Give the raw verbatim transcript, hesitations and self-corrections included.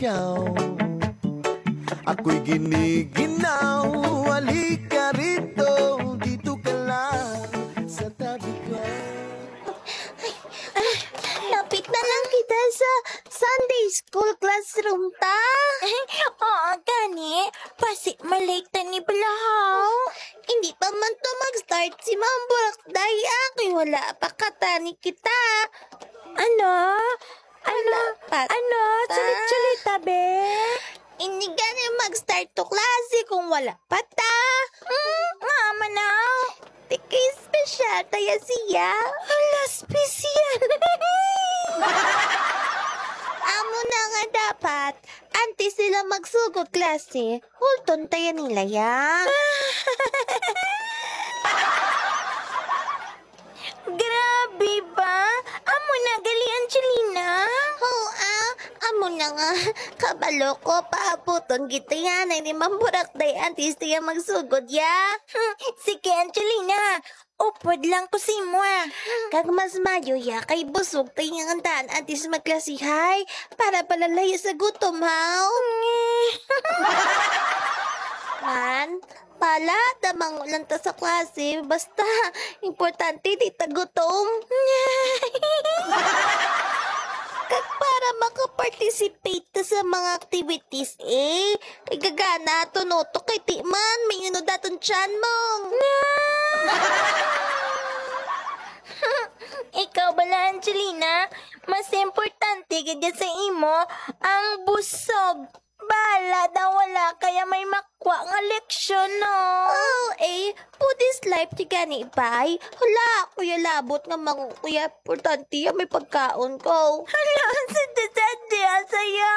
ikaw. Ako'y giniginaw, halika rito, dito ka lang sa tabi ko. Lapit na lang kita sa Sunday school classroom ta. Oo, gani. Basi malate ta ni balahaw. Hindi pa man to mag-start si Ma'am Burak Day, ah, kay wala pa katani kita. Ano? Ano? Wala pa Ano? ta. Sulit-sulit ta, be? Hindi gani mag-start to klase kung wala pa ta. Hmm, nga manaw. Tiki special kaya siya. Hala, special. Amo na nga dapat, antes sila magsugod klase, hulton tayo nila ya. Grabe ba? Amo na gali, Angelina? Oo, ah. Amo na nga. Kabalo ko, paabuton gid tayo ni Ma'am Burak Day antes tayo magsugod ya. Hmm, sige, Angelina. Upod lang ko sa imo, ah. Kag mas maayo ya kay busog tayo nga daan antes magklasihay para palalayo sa gutom, haw? Man, pala, damango lang ta sa klase. Basta, importante, di ta gutom. Kag para makaparticipate ta sa mga activities, eh. Kay gagana, tunutok kay ti man, may inod aton tiyan mo. Ikaw bala, Angelina, mas importante gid sa imo ang busog. Bala daw wala kaya may makwa nga leksyon, no? Oh, eh, food is life, di gani, bay? Hala, kuya labot nga mango, kuya, importante ya may pagkaon ko. Hala, sa dadadya saya.